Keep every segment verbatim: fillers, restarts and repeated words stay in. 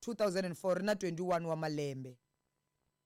two thousand four, ri na twenty-one wa malembe.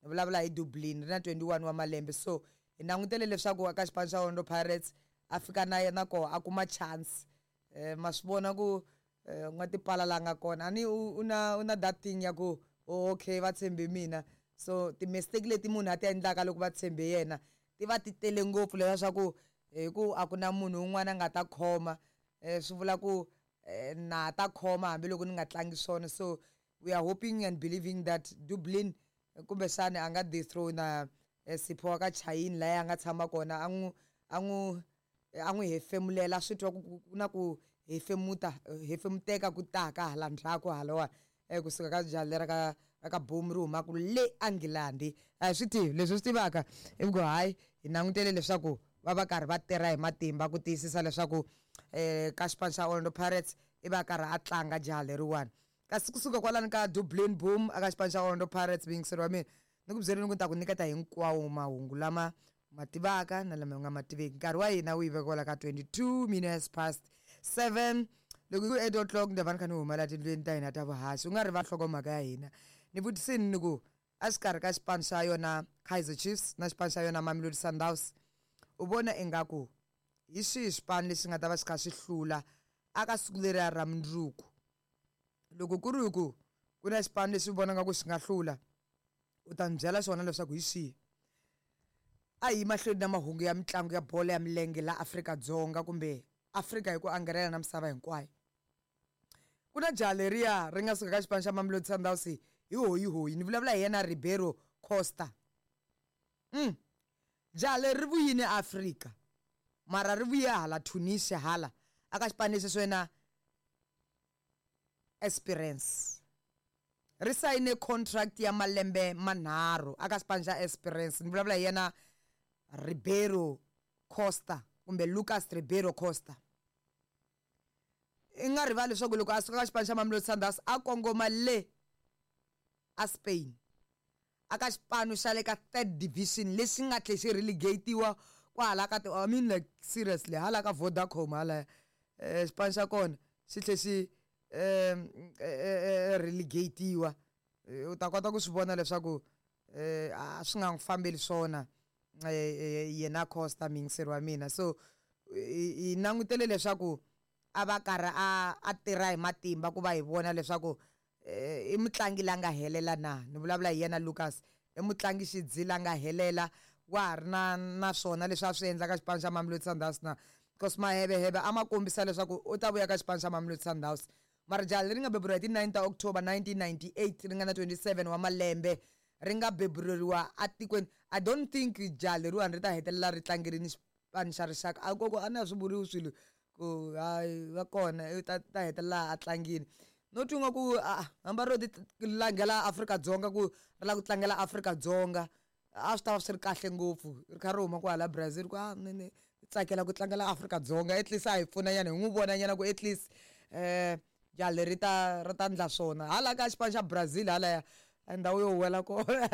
Ni vulavula hi Dublin, ri na twenty-one wa malembe. So hi langutele leswaku eka xipano xa Orlando Pirates a fika na yena koho a kuma chance. Eh, ma swi vona ku, eh, u nga tipala la nga kona. A ni u, u na, u na that thing ya ku, oh, okay, va tshembe mina. So ti-mistake leti munhu a ti endlaka loko va tshembe yena ti va ti tele ngopfu, leswaku hi ku a ku na munhu un'wana a nga ta khoma. Eh, swi vula ku, eh, na ta khoma hambiloko ni nga tlangi swona. So we are hoping and believing that Dublin kumbexana a nga dethrone, eh, Sipho wa ka Chaine laha a nga tshama kona, a n'wi, a n'wi, a n'wi hefemulela, swi twa ku, ku, ku na ku hefemuta, hefemuteka ku taka hala ndzhaku halawani, eh, kusuka ka jaha lera ka, ka boom ri humaka le England. A hi swi tivi leswi swi tivaka i ku hayi hi langutele leswaku va va karhi va tirha hi matimba ku tiyisisa leswaku, eh, ka xipano xa Orlando Pirates i va karhi a tlanga jaha leriwani. Kasi kusuka kwalani ka Dublin Boom aka xipano xa Orlando Pirates, muyingiseri wa mina, ni ku byeleni ku ni ta ku nyiketa hinkwawo mahungu lama ma tivaka na lama u nga ma tiveki. Nkarhi wa hina wu yi veka kwala ka twenty-two minutes past seven. Loko ku eight o'clock ni ta va ni kha ni huma la tindlwini ta hina ta vuhaxi. U nga rivali nhlokomhaka ya hina. Ni vutisini ni ku exikarhi ka xipano xa yona Kaizer Chiefs na xipano xa yona Mamelodi Sundowns, u vona ingaku hi swihi xipano lexi nga ta va xi kha xi hlula aka siku leriya ra mundzuku? Loko ku ri ku ku na xipano lexi u vonaka ku xi nga hlula, u ta ni byela xona leswaku hi xihi. A hi mahlweni na mahungu ya mitlangu ya bolo ya milenge la Afrika-Dzonga kumbe Afrika hi ku angarhela na misava hinkwayo. Ku na jaha leriya ri nga suka ka xipano xa Mamelodi Sundowns hi hoyihoyi, ni vulavula hi yena Ribeiro Costa. Mm. Jaha leri ri vuyile Afrika, mara ri vuye hala Tunisia hala aka xipano lexi swa yena Esperance. Ri sayine contract ya malembe manharhu aka xipano xa Esperance. Ni vulavula hi yena Ribeiro Costa kumbe Lucas Ribeiro Costa. I nga rivali leswaku loko a suka ka xipano xa Mamelodi Sundowns a kongoma le a Spain aka xipano xa le ka third division lexi nga tlhe xi relegatiwa kwahala ka ti, I mean like seriously, hala ka Vodacom hala, eh, xipano xa kona xi tlhe xi, eh, eh, eh, relegatiwa. Eh, u ta kota ku swi vona leswaku, eh, a swi nga n'wi fambeli swona, eh, eh, yena Costa muyingiseri wa mina. So hi, hi langutele leswaku a va karhi a, a tirha hi matimba ku va hi vona leswaku, eh, i mutlangi la nga helela na. Ni vulavula hi yena Lucas, i mutlangi xidzi la nga helela, wa ha ri na, na swona leswi a swi endlaka xipano xa Mamelodi Sundowns na. Because maheveheve a ma kombisa leswaku u ta vuya ka xipano xa Mamelodi Sundowns. Mara jaha leri nga beburiwa hi ti nine ta October nineteen ninety-eight, ri nga na twenty-seven wa malembe, ri nga beburiwa atikweni. I don't think jaha leriwani ri ta hetelela ri tlangerini xipano xa rixaka. A koko a na swi vuriwi swilo ku hayi va kona, i ta, ta hetelela a tlangini. No twi nga ku, a, hamba ro ti langela Afrika-Dzonga ku ri lava ku tlangela Afrika-Dzonga, a swi ta va swi ri kahle ngopfu. Ri kha ri huma kwala Brazil ku, a, ni, ni tsakela ku tlangela Afrika-Dzonga, at least a hi pfuna nyana, hi n'wi vona nyana ku at least, eh, jaha leri ta, ri ta endla swona. Hala ka xipano xa Brazil halaya, a ndhawu yo huwela kona.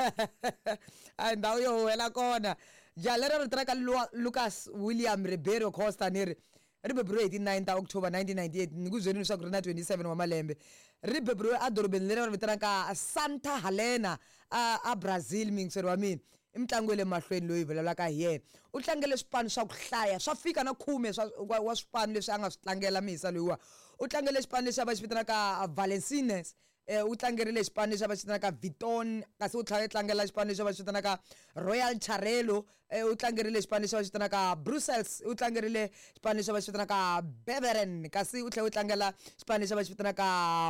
A ndhawu yo huwela kona. Jaha leri ri tirhaka Lu-, Lucas William Ribeiro Costa ni ri, ri beburiwe hi ti nine ta October nineteen ninety-eight, ni ku byeleni leswaku ri na twenty-seven wa malembe. Ri beburiwe edorobeni leri va ri vitanaka Santa Helena a, a Brazil, muyingiseri wa mina. I mutlangi wa le mahlweni loyi hi vulavulaka hi yena. U tlangele swipano swa ku hlaya, swa fika na khume swa, wa, wa swipano leswi a nga swi tlangela mihisa loyiwa. U tlangele xipano lexi a va xi vitanaka Valenciennes, eh, u tlangerile xipano lexi a va xi vitanaka Viton, kasi u tlhela a tlangela xipano lexi a va xi vitanaka Royal Charleroi, eh, u tlangerile xipano lexi a va xi vitanaka Brussels, u tlangerile xipano lexi a va xi vitanaka Beveren, kasi u tlhela u tlangela xipano lexi a va xi vitanaka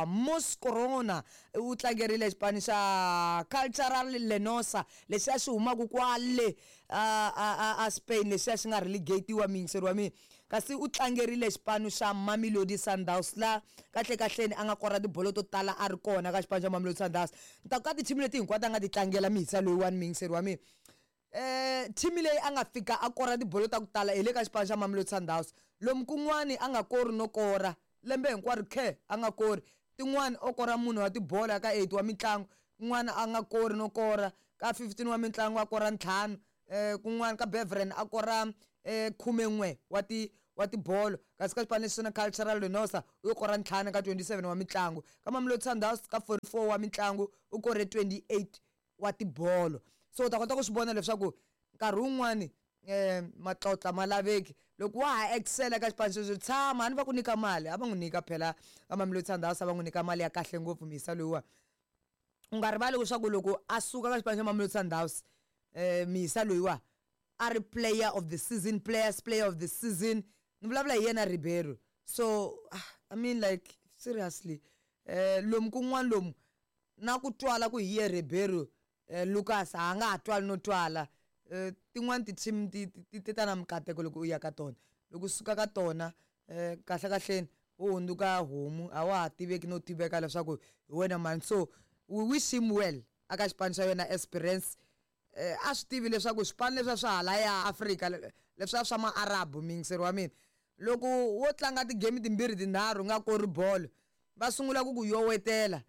Moscorona, u tlangerile xipano xa Cultural Lenosa lexi a xi humaka kwale a, a, a, a Spain, lexi a xi nga relegatiwa muyingiseri wa mina. Kasi u tlangerile xipano xa Mamelodi Sundowns la kahle kahleni a nga kora tibolo to tala a ri kona ka xipano xa Mamelodi Sundowns. Ni ta ku ka tithimi leti hinkwato a nga ti tlangela mihisa loyiwani muyingiseri wa mina. Eh, thimi leyi a nga fika a kora tibolo ta ku tala hi le ka xipano xa Mamelodi Sundowns. Lomu kun'wani a nga kori no kora lembe hinkwaro khe a nga kori, tin'wani o kora munhu wa tibolo ka eight wa mitlangu, kun'wana a nga kori no kora ka fifteen wa mitlangu a kora ntlhanu, eh, kun'wana ka Beveren a kora, eh, khumen'we wa ti, wa tibolo. Kasi ka xipano lexi na Cultural Renosa u yo kora ntlhanu ka twenty-seven wa mitlangu. Ka Mamelodi Sundowns ka forty-four wa mitlangu u kore twenty-eight wa tibolo. So u ta kota ku swi vona leswaku nkarhi wun'wani eh matlotla ma laveki loko wa ha excel ka xipano xexo, tshama a ni va ku nyika mali, a va n'wi nyika phela ka Mamelodi Sundowns, a va n'wi nyika mali ya kahle ngopfu misa loyiwa. U nga rivali leswaku loko a suka ka xipano xa Mamelodi Sundowns, eh misa loyiwa a ri player of the season, players player of the season, ni vulavula hi yena Ribeiro. So I mean like seriously, eh lomu kun'wana lomu na ku twala ku hi ye Ribeiro, eh Lucas a nga ha twali no twala. Eh tin'wani ti-team ti ti ti ta na mikateko loko u ya ka tona, loko u suka ka tona eh kahle kahleni u hundzuka homu, a wa ha tiveki no tiveka leswaku hi wena mani. So we wish him well aka xipano xa yena Esperance. Eh a swi tivi leswaku swipano leswiya swa halaya Afrika leswiya swa ma-Arabu, muyingiseri wa mina, loko wo tlanga ti-game timbirhi tinharhu u nga kori bolo va sungula ku ku yowetela,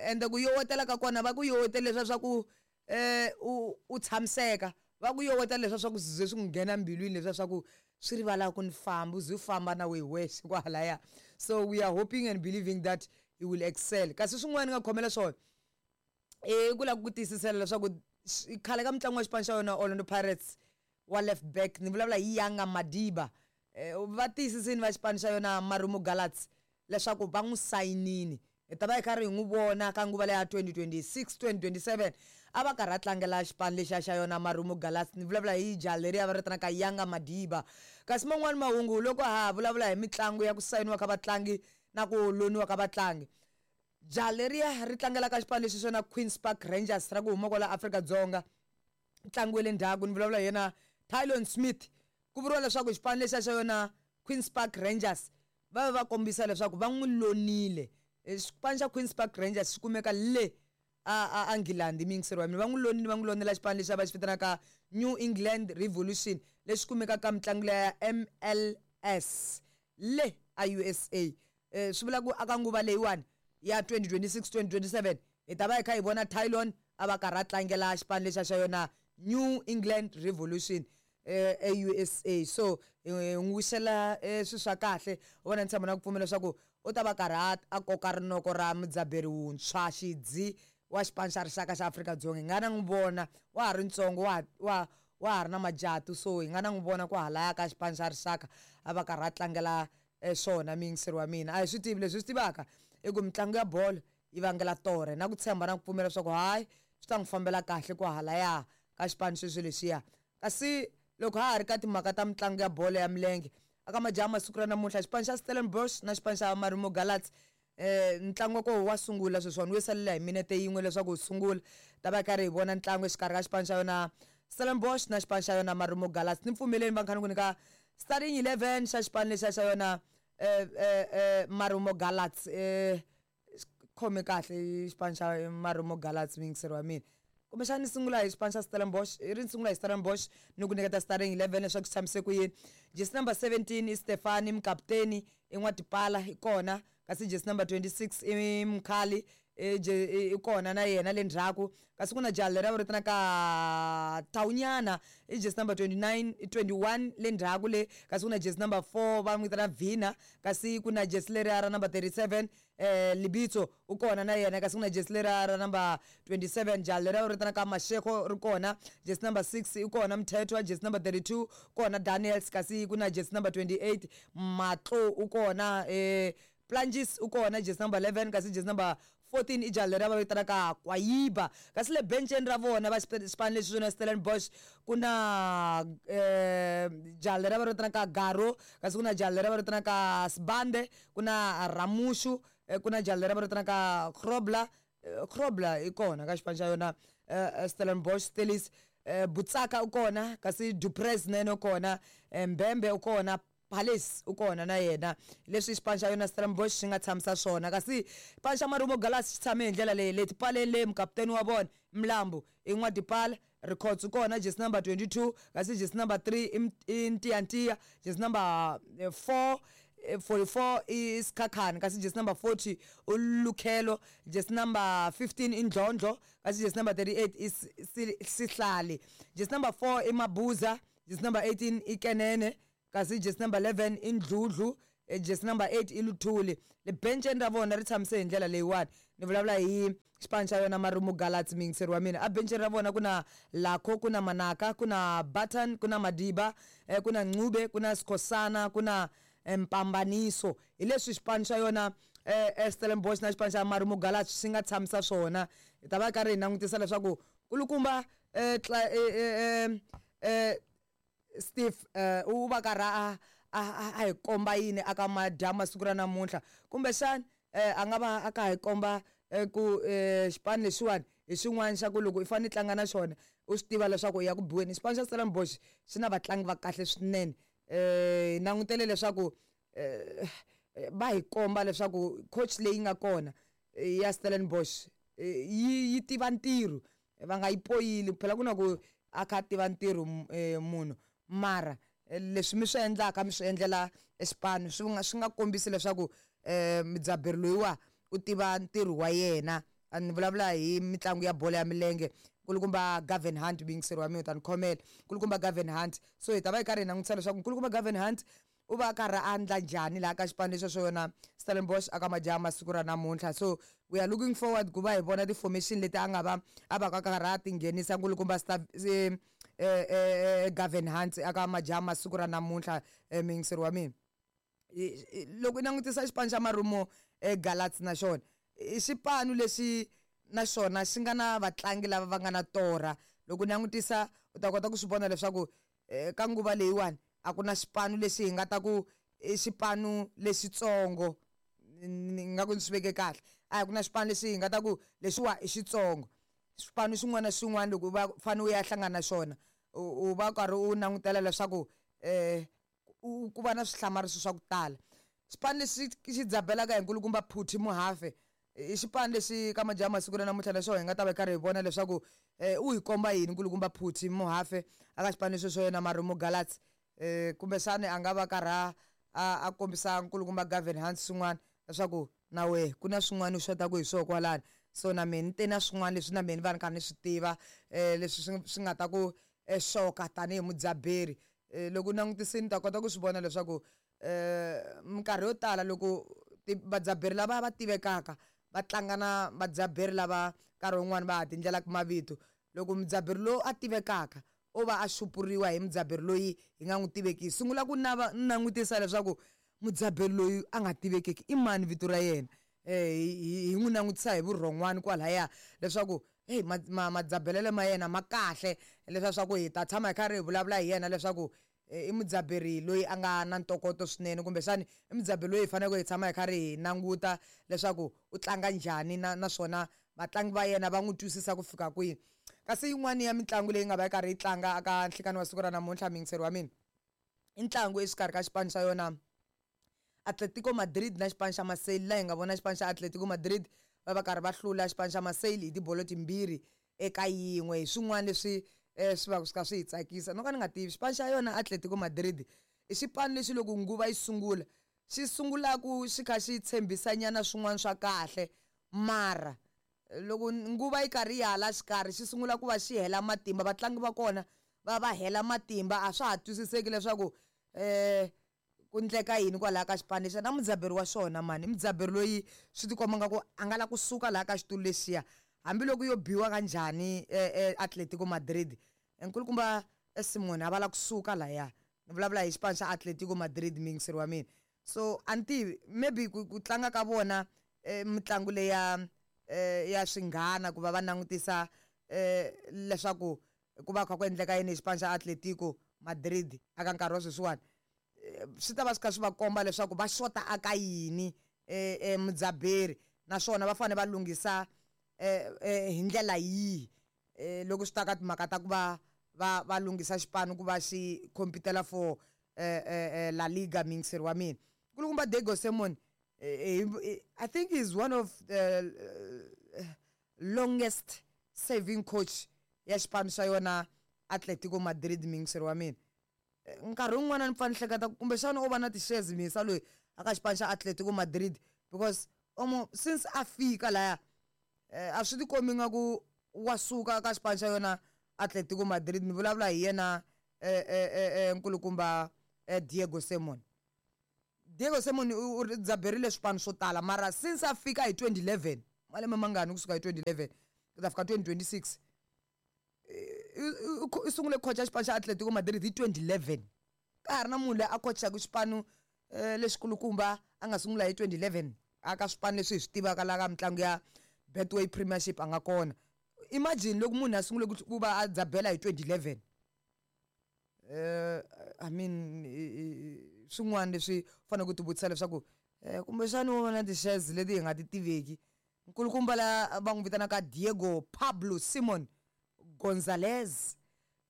ende ku yowetela ka kona va ku yowetela leswiya swa ku eh u u tshamiseka, va ku yowetela leswiya swa ku swi ze swi n'wi nghena mbilwini, leswiya swa ku swi rivala ku ni famba, u ze u famba na wehe wexe kwalaya. So we are hoping and believing that he will excel. Kasi swin'wana ni nga khomela swona i ku lava ku tiyisisela leswaku khale ka mitlangu wa xipano xa yona Orlando Pirates wa left back, ni vulavula hi Yanga Madiba, va tiyisisini va xipano xa yona Marumo Gallants leswaku va n'wi sayinini. Hi ta va hi karhi hi n'wi vona ka nguva leya twenty twenty-six twenty twenty-seven a va karhi a tlangela xipano lexiya xa yona Marumo Gallants. Ni vulavula hi jaha leriya va ri vitanaka Yanga Madiba. Kasi man'wani mahungu loko ha vulavula hi mitlangu ya ku sayiniwa ka vatlangi na ku loniwa ka vatlangi, jaha leriya ri tlangela ka xipano lexi xona Queens Park Rangers ra ku huma kwala Afrika-Dzonga, ntlangu wa le ndzhaku ni vulavula hi yena Tylon Smith. Ku vuriwa leswaku xipano lexiya xa yona Queens Park Rangers va va va kombisa leswaku va n'wi lonile. Xipano xa Queens Park Rangers xi kumeka le a a England, muyingiseri wa mina, va n'wi lonile, va n'wi lonela xipano lexi va xi vitanaka New England Revolution lexi kumekaka ka mitlangu leya M L S le a U S A. Eh swi vula ku aka nguva leyiwani ya twenty twenty-six twenty twenty-seven hi ta va hi kha hi vona Tylon a va karhi a tlangela xipano lexiya xa yona New England Revolution eh e U S A. So hi n'wi wisela swilo swa kahle, u vona ni tshemba na ku pfumela leswaku u ta va karhi a koka rinoko ra mudzaberi wuntshwa xidzi wa xipano xa rixaka xa Afrika-Dzonga. Hi nga na n'wi vona wa ha ri ntsongo, wa wa wa ha ri na majatu, so hi nga na n'wi vona ku halaya ka xipano xa rixaka a va karhi a tlangela swona. Muyingiseri wa mina, a hi swi tivi leswi swi tivaka i ku mitlangu ya bolo yi vangela torhe na ku tshemba na ku pfumela leswaku hayi swi ta n'wi fambela kahle ku halaya ka xipano xexo lexiya. Kasi loko ha ha ri ka timhaka ta mitlangu ya bolo ya milenge, aka majaha masiku ra namuntlha xipano xa Stellenbosch na xipano xa Marumo Gallants, eh ntlangu wa koho wa sungula sweswiwani, wu salela hi minete yin'we leswaku wu sungula. Ta va karhi hi vona ntlangu exikarhi ka xipano xa yona Stellenbosch na xipano xa yona Marumo Gallants. Ni pfumeleni vanghana ku nyika starting eleven xa xipano lexiya xa yona eh eh eh Marumo Gallants. Eh khome kahle xipano xa Marumo Gallants, muyingiseri wa mina. Kumbexana ni sungula hi xipano xa Stellenbosch, i ri ni sungula hi Stellenbosch ni ku nyiketa starting eleven leswaku swi tshamise ku yini. Jersey number seventeen i Stefani mukaputeni, i N'watipala i kona, kasi jersey number twenty-six i Mkhali, i kona na yena le ndzhaku. Kasi ku na jaha leri va ri vitanaka Tawunyana, i jersey number twenty-nine, twenty-one le ndzhaku le. Kasi ku na jersey number four va n'wi vitana Vina, kasi ku na jersey leriya ra number thirty-seven eh Libitso u kona na yena, kasi ku na jersey leriya ra number twenty-seven jaha leri va ri vitanaka Mashego ri kona, jersey number six i kona Mthethwa, jersey number thirty-two kona Daniels, kasi ku na jersey number twenty-eight Matlo u kona, eh Plungis u kona jersey number eleven, kasi jersey number fourteen i jaha leri va vitanaka Kwayiba. Kasi le benceni ra vona va xipano lexi swona Stellenbosch ku na eh jaha leri va vitanaka Garo, kasi ku na jaha leri va vitanaka Sibande, ku na Ramushu, ku na jaha leri va vitanaka Grobler, Grobler i kona ka xipano xa yona Stellenbosch Stellies, Butsaka u kona, kasi Duprez na yena u kona, Mbembe u kona, Palace u kona na yena. Leswi xipano xa yona Stellenbosch xi nga tshamisa swona. Kasi xipano xa Marumo Gallants xi tshame hi ndlela leyi, leti paleni le mukaputeni wa vona Mlambo i N'wadipala, Records u kona jersey number twenty-two, kasi jersey number three i Ntiyantiya, jersey number four forty-four i Sikhakhane, kasi jersey number forty u Lukhelo, jersey number fifteen i Ndlondlo, kasi jersey number thirty-eight i Sihlali, jersey number four i Mabuza, jersey number eighteen i Kenene, kasi jersey number eleven i Ndludlu, jersey number eight i Luthuli. Le benceni ra vona ri tshamise hi ndlela leyiwani. Ni vulavula hi xipano xa yona Marumo Gallants, muyingiseri wa mina. A benceni ra vona ku na Lakho, ku na Manaka, ku na Button, ku na Madiba, ku na Ncube, ku na Skhosana, ku na Mpambaniso. Hi leswi xipano xa yona Stellenbosch na xipano xa Marumo Gallants swi nga tshamisa swona. Hi ta va karhi hi langutisa leswaku kulukumba Steve u va karhi a a hi komba yini aka madyambu siku ra namuntlha, kumbexana a nga va a kha hi komba ku xipano lexiwani hi xin'wana xa ku loko i fanele i tlanga na xona u swi tiva leswaku u ya ku biweni. Xipano xa Stellenbosch xi na vatlangi va kahle swinene. Hi langutele leswaku va hi komba leswaku coach leyi nga kona ya Stellenbosch yi yi tiva ntirho, va nga yi poyili phela ku na ku a kha a tiva ntirho munhu, mara leswi mi swi endlaka mi swi endlela xipano swi nga swi nga kombisi leswaku mudzaberi loyiwa u tiva ntirho wa yena. A ni vulavula hi mitlangu ya bolo ya milenge, nkulukumba Gavin Hunt, muyingiseri wa mina u ta ni khomela, nkulukumba Gavin Hunt. So hi ta va hi karhi hi langutisa leswaku nkulukumba Gavin Hunt u va a karhi a endla njhani laha ka xipano lexo xo yona Stellenbosch aka madyambu siku ra namuntlha. So we are looking forward ku va hi vona ti-formation leti a nga va a va ka karhi a ti nghenisa nkulukumba Gavin Hunt aka madyambu siku ra namuntlha, muyingiseri wa mina. Loko i langutisa xipano xa Marumo Gallants na xona i xipano lexi na xona xi nga na vatlangi lava va nga na torha. Loko u langutisa u ta kota ku swi vona leswaku ka nguva leyiwani a ku na xipano lexi hi nga ta ku i xipano lexitsongo, ni nga ku ni swi veke kahle, a ku na xipano lexi hi nga ta ku lexiwa i xitsongo. Xipano xin'wana na xin'wana loko u va fanele u ya hlangana na xona u va u karhi u langutela leswaku ku va na swihlamariso swa ku tala. Xipano lexi xi dzabelaka hi nkulukumba Phuthi Muhafe i xipano lexi ka madyambu masiku ra namuntlha na xona hi nga ta va karhi hi vona leswaku u hi komba yini nkulukumba Phuthi Muhafe aka xipano lexo xo yena Marumo Gallants. Kumbexana a nga va karhi a a kombisa nkulukumba Gavin Hunt swin'wana leswaku na wehe ku na swin'wana u xotaka hi swona kwalano. So na mehe ni te na swin'wana leswi na mehe ni va ni karhi ni swi tiva leswi swi swi nga ta ku xoka tanihi mudzaberi. Loko u langutisile u ta kota ku swi vona leswaku minkarhi yo tala loko vadzaberi lava va tivekaka va tlanga na vadzaberi lava nkarhi wun'wani va ha ti endlelaka mavito, loko mudzaberi loyi a tivekaka o va a xupuriwa hi mudzaberi loyi hi nga n'wi tiveki, sungula ku nava langutisa leswaku mudzaberi loyi a nga tivekeki i mani vito ra yena, hi n'wi langutisa hi vurhon'wana kwalaya leswaku hey madzabelelo ma yena ma kahle, leswiya swa ku hi ta tshama hi karhi hi vulavula hi yena leswaku i mudzaberi loyi a nga na ntokoto swinene, kumbexani i mudzaberi loyi hi faneleke hi tshama hi karhi hi languta leswaku u tlanga njhani na naswona vatlangi va yena va n'wi twisisa ku fika kwihi. Kasi yin'wani ya mitlangu leyi nga va yi karhi yi tlanga aka nhlikani wa siku ra namuntlha, muyingiseri wa mina, i ntlangu exikarhi ka xipano xa yona Atletico Madrid na xipano xa Marseille, laha hi nga vona xipano xa Atletico Madrid va va karhi va hlula xipano xa Marseille hi tibolo timbirhi eka yin'we. Hi swin'wana leswi swi va swi kha swi hi tsakisa. No ka ni nga tivi xipano xa yona Atletico Madrid i xipano lexi loko nguva yi sungula xi sungulaku xi kha xi tshembisanyana swin'wana swa kahle, mara loko nguva yi karhi yi hala xikarhi xi sungula ku va xi hela matimba, vatlangi va kona va va hela matimba, a swa ha twisiseki leswaku ku endleka yini kwalaya ka xipano lexiya. Na mudzaberi wa xona mani i mudzaberi loyi swi tikomba nga ku a nga la kusuka laha ka xitulu lexiya, hambiloko yo biwa kanjhani Atletico Madrid, nkulukumba Simone a va la kusuka lahaya. Ni vulavula hi xipano xa Atletico Madrid, muyingiseri wa mina. So a ni tivi maybe ku ku tlanga ka vona mitlangu leya ya xinghana ku va va langutisa leswaku ku va kha ku endleka yini hi xipano xa Atletico Madrid aka nkarhi wa sweswiwani, swi ta va swi kha swi va komba leswaku va xota aka yini mudzaberi, naswona va fanele va lunghisa hi ndlela yihi loko swi ta ka timhaka ta ku va va va lunghisa xipano ku va xi competela for La Liga, muyingiseri wa mina. Nkulukumba Diego Simeone, I think he's one of the longest serving coach ya xipano xa yona Atletico Madrid, muyingiseri wa mina. Nkarhi wun'wana ni pfa ni hleketa kumbexana o va na ti-shares misa loyi aka xipano xa Atletico Madrid, because omo since a fika laya a swi tikombi nga ku wa suka ka xipano xa yona Atletico Madrid. Ni vulavula hi yena nkulukumba Diego Simon. Diego Simon u dzaberile swipano swo tala, mara since a fika hi twenty eleven, malembe mangani kusuka hi twenty eleven ku ta fika twenty twenty six, i sungule ku khocha xipano xa Atletico Madrid hi twenty eleven. Ka ha ri na munhu loyi a khochaka xipano lexikulukumba a nga sungula hi twenty eleven aka swipano leswi hi swi tivaka laha ka mitlangu ya Betway Premiership a nga kona. Imagine loko munhu a sungule ku va a dzabela hi twenty eleven. Eh I mean swin'wana leswi fanele ku tivutisa leswaku kumbexani wo vona ti-shares leti hi nga ti tiveki. Nkulukumba la va n'wi vitanaka Diego Pablo Simon Gonzalez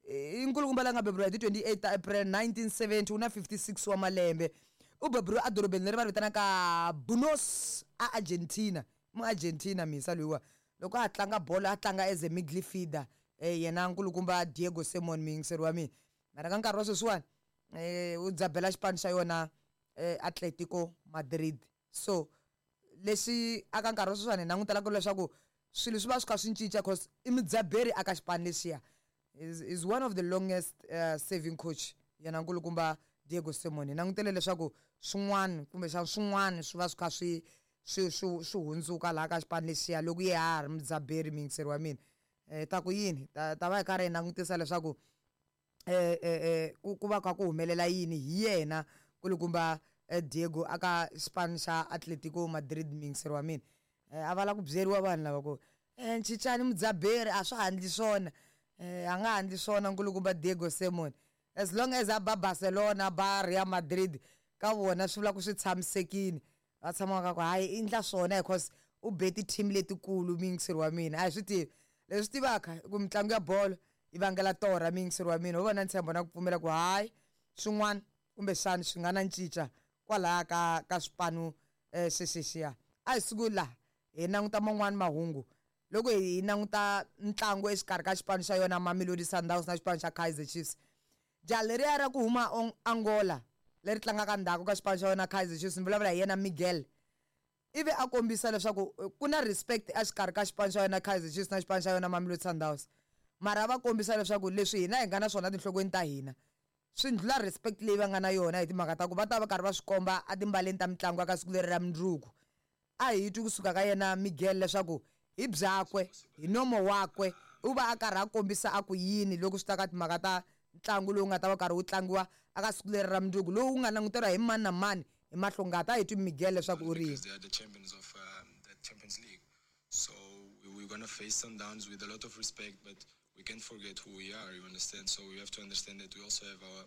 i nkulukumba la nga beburiwa hi ti twenty eight ta April nineteen seventy, u na fifty six wa malembe. U beburiwe edorobeni leri va ri vitanaka Buenos a Argentina. Mu Argentina misa loyiwa loko a tlanga bolo a tlanga as a midfielder, yena nkulukumba Diego Simon muyingiseri wa mina. Mara ka nkarhi wa sweswiwani u dzabela xipano xa yona Atletico Madrid. So leswi aka nkarhi wa sweswiwani hi langutelaka leswaku swilo swi va swi kha swi cinca, cause i mudzaberi aka xipano lexiya. Is is one of the longest uh, serving coach yena nkulukumba Diego Simon. Hi langutele leswaku swin'wana kumbexana swin'wana swi va swi kha swi swi swi swi hundzuka laha ka xipano lexiya loko ye ha ri mudzaberi muyingiseri wa mina. Ta ku yini ta ta va hi karhi hi langutisa leswaku eh eh ku ku va kha ku humelela yini hi yena nkulukumba Diego aka xipano xa Atletico Madrid muyingiseri wa mina. A va lava ku byeriwa vanhu lava ku cincani mudzaberi a swa ha endli swona, a nga ha endli swona nkulukumba Diego Simon. As long as a ba Barcelona ba Real Madrid ka vona swi vula ku swi tshamisekile, va tshama ka ku hayi i endla swona because u be ti-team letikulu muyingiseri wa mina. A hi swi tivi leswi tivaka ku mitlangu ya bolo yi vangela torha muyingiseri wa mina. Ho va na ntshembo na ku pfumela ku hayi swin'wana kumbexana swi nga na cinca kwalaya ka ka swipano xexexiya. A hi sunguli laha hi languta man'wani mahungu loko hi languta ntlangu exikarhi ka xipano xa yona Mamelodi Sundowns na xipano xa Kaizer Chiefs. Jaha leriya ra ku huma Angola leri tlangaka ndzhaku ka xipano xa yona Kaizer Chiefs, ni vulavula hi yena Miguel, ivi a kombisa leswaku ku na respect exikarhi ka xipano xa yona Kaizer Chiefs na xipano xa yona Mamelodi Sundowns. Mara va kombisa leswaku leswi hina hi nga na swona tinhlokweni ta hina swi ndlula respect leyi va nga na yona hi timhaka ta ku va ta va karhi va swi komba etimbaleni ta mitlangu ka siku leri ra mundzuku. A hi twi kusuka ka yena Miguel leswaku hi byakwe hi nomo wakwe u va a karhi a kombisa a ku yini loko swi ta ka timhaka ta ntlangu lowu nga ta va karhi wu tlangiwa aka siku leri ra mundzuku lowu nga languteriwa hi mani na mani hi mahlongati. A hi twi Miguel leswaku u ri yini. They are the champions of um, the Champions League. So we're going to face Sundowns with a lot of respect, but we can't forget who we are, you understand? So we have to understand that we also have our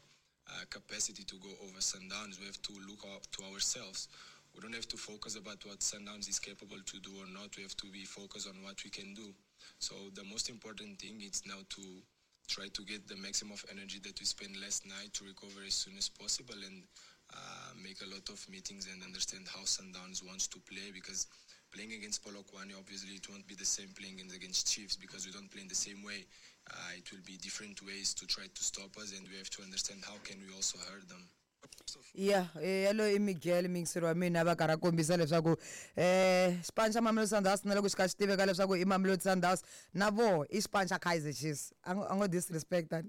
uh, capacity to go over Sundowns. We have to look up to ourselves. We don't have to focus about what Sundowns is capable to do or not. We have to be focused on what we can do. So the most important thing is now to try to get the maximum of energy that we spent last night to recover as soon as possible and uh, make a lot of meetings and understand how Sundowns wants to play, because playing against Polokwane, obviously it won't be the same playing against Chiefs because we don't play in the same way. Uh, it will be different ways to try to stop us, and we have to understand how can we also hurt them. Yeah, yalo i Miguel muyingiseri wa mina va karhi a kombisa leswaku eh xipano xa Mamelodi Sundowns na loko xi kha xi tiveka leswaku i Mamelodi Sundowns na voho i xipano xa Kaizer Chiefs. A ngo a ngo disrespect a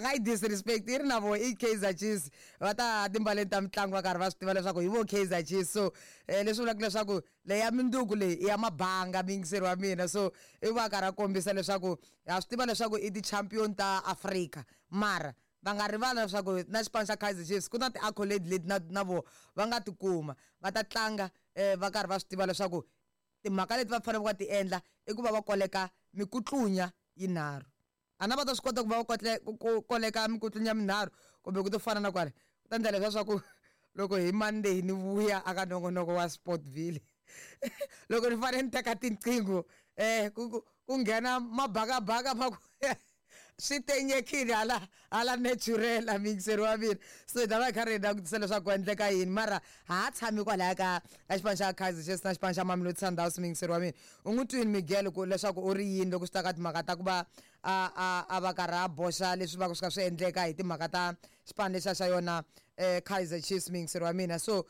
nga yi disrespect, i ri na voho i Kaizer Chiefs. Va ta timbaleni ta mitlangu va karhi va swi tiva leswaku hi vo Kaizer Chiefs. So leswi vulaka leswaku leyi ya mundzuku leyi i ya mabanga muyingiseri wa mina. So i va karhi a kombisa leswaku ha swi tiva leswaku i ti-champion ta Africa, mara va nga rivala leswaku na xipano xa Kaizer Chiefs ku na ti-accolade leti na na voho va nga ti kuma. Va ta tlanga va karhi va swi tiva leswaku timhaka leti va faneleke va ti endla i ku va va koleka mikutlunya yinharhu. A na va ta swi kota ku va va ku koleka mikutlunya minharhu kumbe ku to fana na kwale ku ta endla leswiya swa ku loko hi Monday ni vuya aka nongonoko wa Sportville loko ni fanele ni teka tinqingho eh ku ku nghena mabakabaka ma ku swi tenyekile hala hala natural muyingiseri wa mina. So hi ta va hi karhi hi langutisa leswaku ku endleka yini, mara ha tshami kwalaya ka ka xipano xa Kaizer Chiefs na xipano xa Mamelodi Sundowns muyingiseri wa mina. U n'wi twini Miguel ku leswaku u ri yini loko swi ta ka timhaka ta ku va a a a va karhi a boxa leswi va ku swi kha swi endleka hi timhaka ta xipano lexiya xa yona Kaizer Chiefs muyingiseri wa mina. So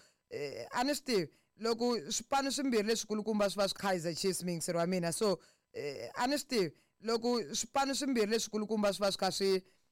a ni swi tivi loko swipano swimbirhi leswikulukumba swi va swi Kaizer Chiefs muyingiseri wa mina. So a ni swi tivi loko swipano swimbirhi leswikulukumba swi va swi kha swi